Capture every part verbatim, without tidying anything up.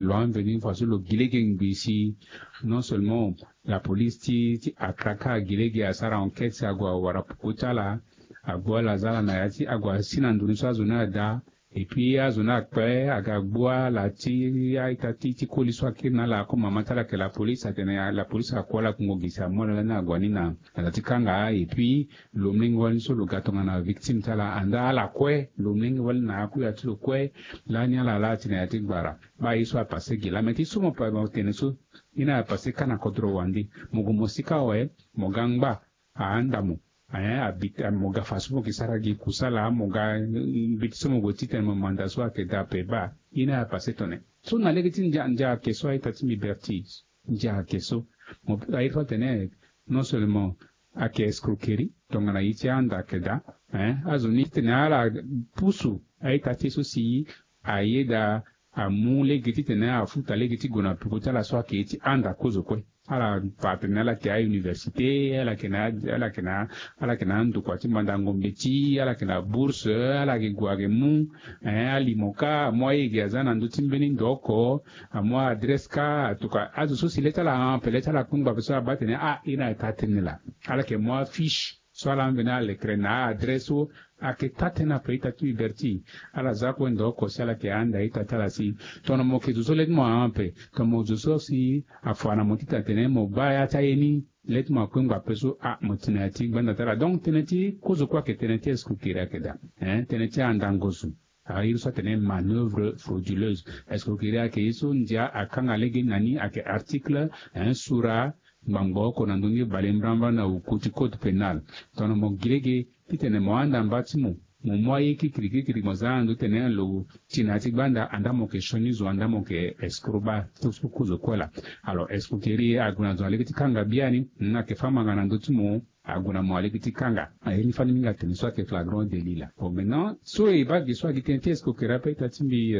Lo amveni faso lo gi lege ngbii si non seulement la police ti ti atraka agi lege asara enquête si ague awara poko ti ala, ague ala za ala na ya ti ague asi na ndoni so azo ni ada. Et puis azo ni akpe aga gbu ala ti a-ita ti ti koli so akiri na ala ako mama ti ala ayeke la police atene la police ako ala kungo gi si amu ala lani ague ni na ala ti kanga. Et puis lo molenge wali so lo ga tongana victime ti ala anda ala kue lo molenge wali na akuya ti lo kue. Lani ala laa ti na ya ti gbara baa ye so apase gi lame ti so mo pa mo tene so. Ye ni apase kâ na kodro wande. Mo gue mo sika awe mo ga ngba ahanda mo. Mo ga faso mo ke sara gi kusala mo ga mbeti so mo gue titene mo manda so ayeke daa ape baa. Ye ni apase tone so na lege ti ndia ndia ayeke so a-ita ti mbi berti. Ndia ayeke so mo aye so atene non seulement ayeke escroquerie tongana ye ti ahanda ayeke daa. Azo ni titene ala pusu a-ita ti e so si aye daa amu lege titene afuta lege ti gue na peko ti ala so ayeke ye ti ahanda kozo kue. Ala fa atene ala yeke a-université ala yeke na ala yeke na ala yeke na andokua ti mandango mbeti ala yeke na bourse ala yeke gue ayeke mu. Alimo kâ amu aye ge aza na ndö ti mbeni ndo oko. Amu adresse kâ atuka azo so si le ti ala ahon ape le ti ala kpengba ape so abaa atene ah ye ni ayeke taa tënë laa. Ala yeke mu afiche so ala mveni alekere na a-adresse so ayeke taa tënë ape ita ti mbi berti. Ala za kue ndo oko si ala yeke ahanda ita ti ala si tongana mo yeke zo so le ti mo ahon ape tongana mo zo so si afa na mo titene atene mo baa ya ti aye ni. Le ti mo akpengba ape so ah mo ti na ya ti gbanda ti ala donc tënë ti kozo kue ayeke tënë ti escroquerie ayeke daa. Tënë ti andango zo. Aye so atene manœuvre frauduleuse. Escroquerie ayeke ye so ndia akanga lege na ni ayeke article un sura ngbangbo oko na ndö ni bale mbrambra na uku ti code pénal. Tongana mo gi lege titene mo ahanda mba ti mo mo mu aye kirikiri kirikiri mo za na ndö titene lo ti na ya ti gbanda anda mo yeke sioni zo anda mo yeke escroc baa. Ti so kozo kue laa. Alors escroquerie ague na zo na lege ti kanga biani. Ayeke fâ manga na ndö ti mo. Ague na mo na lege ti kanga. Aye ni fani mingi atene so ayeke flagrant délit laa. Bon maintenant so e baa ge so agi tënë ti escroquerie ape ita ti mbi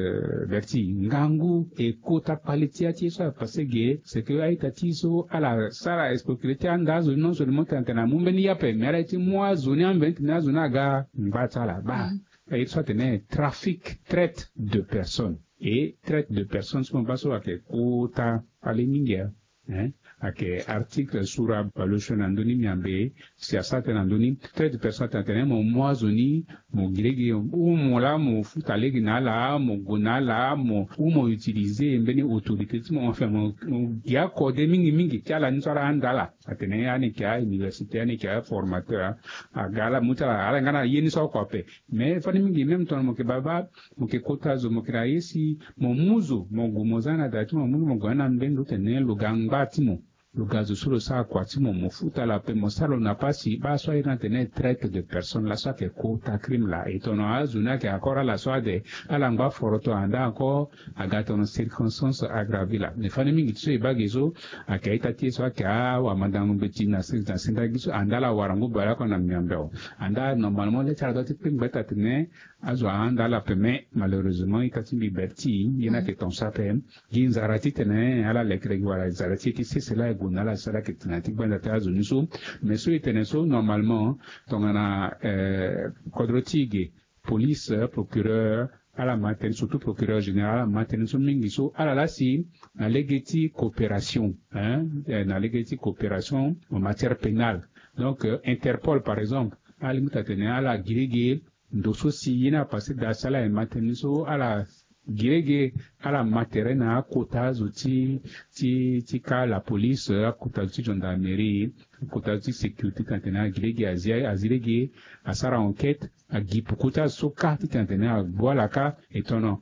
berti ngangu e kota kpale ti ya ti ye so apase ge c'est que a-ita ti e so ala sara escroquerie ti anda azo ni non seulement tene atene amu mbeni ye ape mais ala ye ti mu azo ni ambeni tene azo ni aga ngba ti ala baa. Aye ti so atene trafic traite de personne. Et traite de personne so mo baa so ayeke kota kpale mingi. Ayeke article sura baleuse na ndö ni miambe si asara tënë na ndö ni. Traite de personne atene atene mo mu azo ni mo gi lege ou mo laa mo futa lege na ala mo gue na ala mo ou mo utiliser mbeni autorité ti mo enfin mo gi akode mingi mingi ti ala ni so ala handa ala. Atene ani yeke a-université ani yeke aformateur. Aga ala mu ti ala ala nga na ye ni so oko ape. Mais fani mingi même tongana mo yeke baba mo yeke kota zo mo yeke na ye si mo mu zo mo gue mo za na da ti mo mo mu zo mo gue na mbeni ndo tene lo ga ngba ti mo. Lo ga zo so lo sara kua ti mo mo futa lo ape mo sara lo na pasi baa so aye ni atene traite de personne laso ayeke kota crime laa. E tongana azo ni ayeke encore ala so ade ala ngba foroto anda encore. Aga tongana circonstance aggravée laa mais fani mingi ti so e baa ge so ayeke a-ita ti e so ayeke awamandango mbeti na senda gi so anda ala warango baleoko na miambe awe. Anda normalement le ti ala doit ti kpengba ita tene azo ahanda ala ape mais malheureusement ita ti mbi berti ye ni ayeke tongaso ape. Gi nzara titene ala lekerege wala nzara ti e ti sese laa e gue na ala si ala yeke tene na ya ti gbanda ti azo ni so. Mais so e tene so normalement tongana kodro ti e ge police procureur ala ma tënë surtout procureur général ala ma tënë so mingi so ala laa si na lege ti coopération na lege ti coopération en matière pénale. Donc Interpol par exemple ala lingbi ti atene ala gi lege ndo so si ye ni apase daa si ala yeke ma tënë so ala gi lege ala ma tere na akota zo ti ti ti ka la police akota zo ti gendarmerie akota zo ti sécurité tene atene ala gi lege azi azi lege asara enquête agi poko ti azo so kâ titene atene agbu ala kâ. E tongana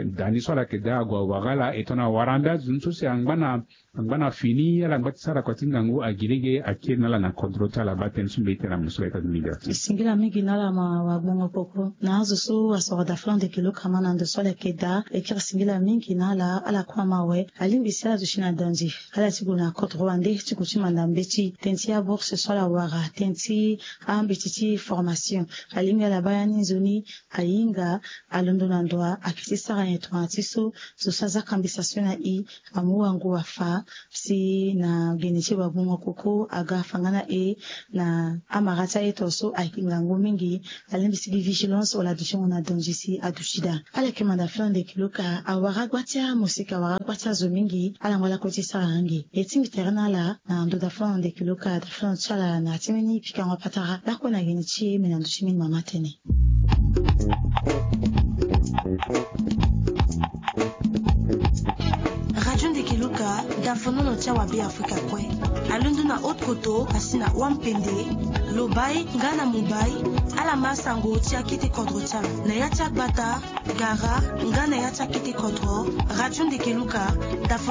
da ni so ala yeke daa ague awara ala e tongana awara ande azo ni so si angba na angba na fini ala ngba ti sara kua ti ngangu agi lege akiri na ala na kodro ti ala baa tënë so mbi ye ti tene na mo so ayeke ati mbi ga. E singila mingi na ala ma wagbongo poko na azo so asoro da flan de kilo kama na ndo so ala yeke daa e kiri singila mingi na ala ala kue ama awe. Alingbi si ala zo si na danzi ala ti gue na kodro wande ti gue ti manda mbeti tënë ti abourse so ala wara tënë ti ambeti ti formation. Alingbi ala baa ya ni nzoni ahinga alondo na ndo wa ayeke ti sara nyen tongana ti so zo so aza kambisa so na i amu wango afa si na gene ti wagbongo koko aga afa nga na e na amara ti aye to so ayeke ngangu mingi. Alingbi si gi vigilance wala adutingo na danzi si aduti daa ala yeke manda flan de kilo ka. Wara gba ti amosika, wara gba ti azo mingi ala ngba lakue ti sara ange. E tingbi tere na ala na ndo dafono ndeke luka dafono ti ala na ti mbeni pikango patara lakue na geni ti e me na ndo ti mbeni mama tene. Radio ndeke luka dafono ti awa be afrika kue. Alondo na haute koto asi na wampende, lobai nga na mobai. Ala ma sango ti akete kodro ti ala na ya ti agbata, gara nga na ya ti akete kodro. Radio ndeke luka dafono.